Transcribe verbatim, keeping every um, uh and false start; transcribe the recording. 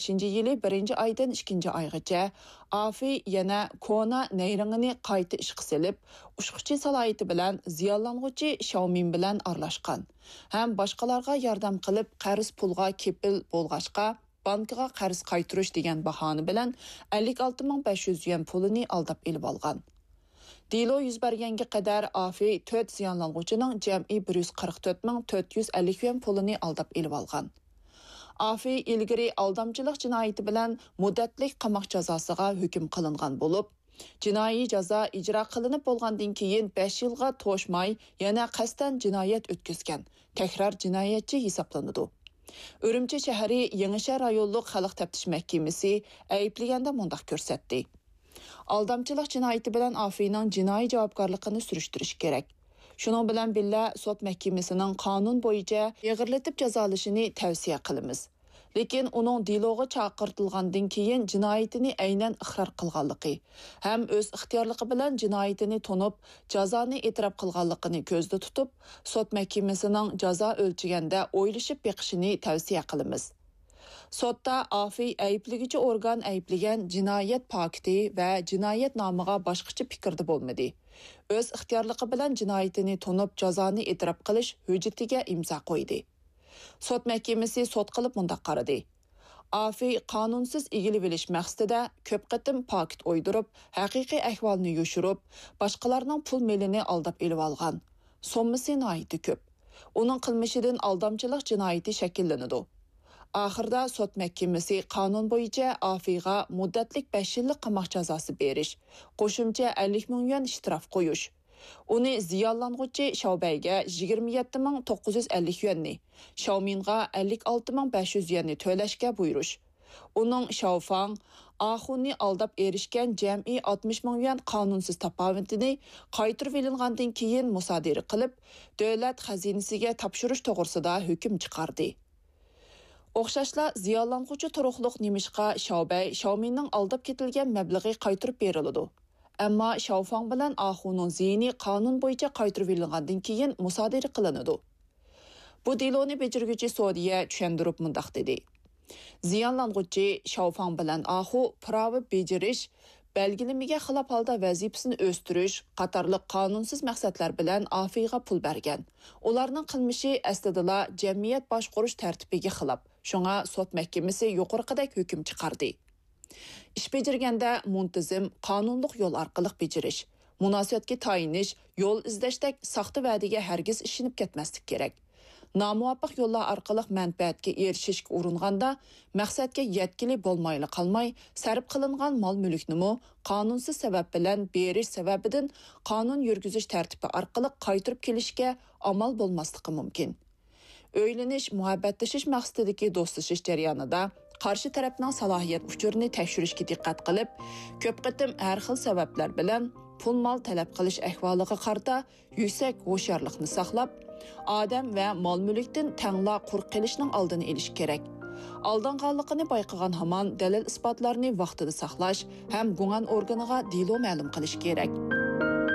بەشىنچى يىلى بىرىنچى ئايدىن ئىككىنچى ئايغىچە ئافېي يەنە كونا نەيرىڭىنى قايتا ئىشقا سېلىپ، ئۇچقۇچى سالاھىيىتى بىلەن زىيانلانغۇچى شياۋمىن بىلەن ئارىلاشقان ھەم باشقىلارغا ياردەم قىلىپ، قەرز پۇلغا كېپىل بولغاچقا، بانكىغا قەرز قايتۇرۇش دېگەن باھانە بىلەن ئەللىك ئالتە مىڭ بەش يۈز يۈەن پۇلىنى ئالداپ ئېلىۋالغان. دېلو يۈز بەرگەنگە قەدەر ئافېي تۆت زىيانلانغۇچىنىڭ جەمئىي بىر يۈز قىرىق تۆت مىڭ تۆت يۈز ئەللىك يۈەن پۇلىنى ئالداپ ئېلىۋالغان. ئافېي ئىلگىرى ئالدامچىلىق جىنايىتى بىلەن مۇددەتلىك قاماق جازاسىغا ھۆكۈم قىلىنغان بولۇپ، جىنايى جازا ئىجرا قىلىنىپ بولغاندىن كېيىن بەش يىلغا توشماي يەنە قەستەن جىنايەت ئۆتكۈزگەن تەكرار جىنايەتچى ھېسابلىنىدۇ. ئۈرۈمچى شەھىرى يېڭىشەھەر رايونلۇق خەلق تەپتىش مەھكىمىسى ئەيىبلىگەندە مۇنداق كۆرسەتتى. ئالدامچىلىق جىنايىتى بىلەن ئافېينىڭ جىنايى جاۋابكارلىقىنى سۈرۈشتۈرۈش كېرەك. شۇنىڭ بىلەن بىللە، سوت مەھكىمىسىنىڭ قانۇن بويىچە ئېغىرلىتىپ جازالىشىنى تەۋسىيە قىلىمىز. لېكىن ئۇنىڭ دېلوغا چاقىرتىلغاندىن كېيىن جىنايىتىنى ئەينەن ئىقرار قىلغانلىقى ھەم ئۆز ئىختىيارلىقى بىلەن جىنايىتىنى تونۇپ، جازانى ئېتىراپ قىلغانلىقىنى كۆزدە تۇتۇپ، سوت مەھكىمىسىنىڭ جازا ئۆلچىگەندە ئويلىشىپ بېقىشىنى تەۋسىيە قىلىمىز. سوتتا ئافېي ئەيىبلىگۈچى ئورگان ئەيىبلىگەن جىنايەت پاكىتى ۋە جىنايەت نامىغا باشقىچە پىكىردە بولمىدى. ئۆز ئىختىيارلىقى بىلەن جىنايىتىنى تونۇپ، جازانى ئېتىراپ قىلىش ھۆججىتىگە ئىمزا قويدى. سوت مەھكىمىسى سوت قىلىپ مۇنداق قارىدى. ئافېي قانۇنسىز ئىگىلىۋېلىش مەقسىتىدە كۆپ قېتىم پاكىت ئويدۇرۇپ، ھەقىقىي ئەھۋالنى يوشۇرۇپ، باشقىلارنىڭ پۇل مېلىنى ئالداپ ئېلىۋالغان. سوممىسى ناھايىتى كۆپ. ئۇنىڭ قىلمىشىدىن ئالدامچىلىق جىنايىتى شەكىللىنىدۇ. ئاخىرىدا سوت مەھكىمىسى قانۇن بويىچە ئافېيغا مۇددەتلىك بەش يىللىق قاماق جازاسى بېرىش، قوشۇمچە ئەللىك مىڭ يۈەن شتراف قويۇش، ئۇنى زىيانلانغۇچى شاۋبەيگە يىگىرمە يەتتە مىڭ توققۇز يۈز ئەللىك يۈەننى، شاۋمىنغا ئەللىك ئالتە مىڭ بەش يۈز يۈەننى تۆلەشكە بۇيرۇش، ئۇنىڭ شاۋفاڭ، ئاخۇنى ئالداپ ئېرىشكەن جەمئىي ئاتمىش مىڭ يۈەن قانۇنسىز تاپاۋىتىنى قايتۇرۇۋېلىنغاندىن كېيىن مۇسادىرە قىلىپ، دۆلەت خەزىنىسىگە تاپشۇرۇش توغرىسىدا ھۆكۈم چىقاردى. ئوخشاشلا، زىيانلانغۇچى تۇرۇقلۇق نېمىشقا شاۋبەي شاۋمىننىڭ ئالداپ كېتىلگەن مەبلىغى قايتۇرۇپ بېرىلىدۇ، ئەمما شاۋفاڭ بىلەن ئاخۇنىڭ زىيىنى قانۇن بويىچە قايتۇرۇۋېلىنغاندىن كېيىن مۇسادىرە قىلىنىدۇ. بۇ دېلونى بېجىرگۈچى سودىيە چۈشەندۈرۈپ مۇنداق دېدى: زىيانلانغۇچى شاۋفاڭ بىلەن ئاخۇ پىراۋا بېجىرىش، بەلگىلىمىگە خىلاپ ھالدا ۋەزىپىسىنى ئۆستۈرۈش قاتارلىق قانۇنسىز مەقسەتلەر بىلەن ئافېيغا پۇل بەرگەن. ئۇلارنىڭ قىلمىشى ئەسلىدىلا جەمئىيەت باشقۇرۇش تەرتىپىگە خىلاپ، شۇڭا سوت مەھكىمىسى يۇقىرىقىدەك ھۆكۈم چىقاردى. ئىش بېجىرگەندە مۇنتىزىم، قانۇنلۇق يول ئارقىلىق بېجىرىش، مۇناسىۋەتكە تايىنىش، يول ئىزدەشتەك ساختا ۋەدىگە ھەرگىز ئىشىنىپ كەتمەسلىك كېرەك. نامۇۋاپىق يوللار ئارقىلىق مەنپەئەتكە ئېرىشىشكە ئۇرۇنغاندا، مەقسەتكە يەتكىلى بولمايلا قالماي، سەرپ قىلىنغان مال-مۈلۈكنىمۇ قانۇنسىز سەۋەب بىلەن بېرىش سەۋەبىدىن قانۇن يۈرگۈزۈش تەرتىپى ئارقىلىق قايتۇرۇپ كېلىشكە ئامال بولماسلىقى مۇمكىن. ئۆيلىنىش، مۇھەببەتلىشىش مەقسىتىدىكى دوستلىشىش جەريانىدا قارشى تەرەپنىڭ سالاھىيەت ئۇچۇرىنى تەكشۈرۈشكە دىققەت قىلىپ، كۆپ قېتىم ھەر خىل سەۋەبلەر بىلەن پۇل-مال تەلەپ قىلىش ئەھۋالىغا قارىتا يۈكسەك ھوشيارلىقنى ساقلاپ، ئادەم ۋە مال-مۈلۈكتىن تەڭلا قۇرۇق قېلىشنىڭ ئالدىنى ئېلىش كېرەك. ئالدانغانلىقىنى بايقىغان ھامان دەلىل-ئىسپاتلارنى ۋاقتىدا ساقلاش ھەم گۇڭئەن ئورگىنىغا دېلو مەلۇم قىلىش كېرەك.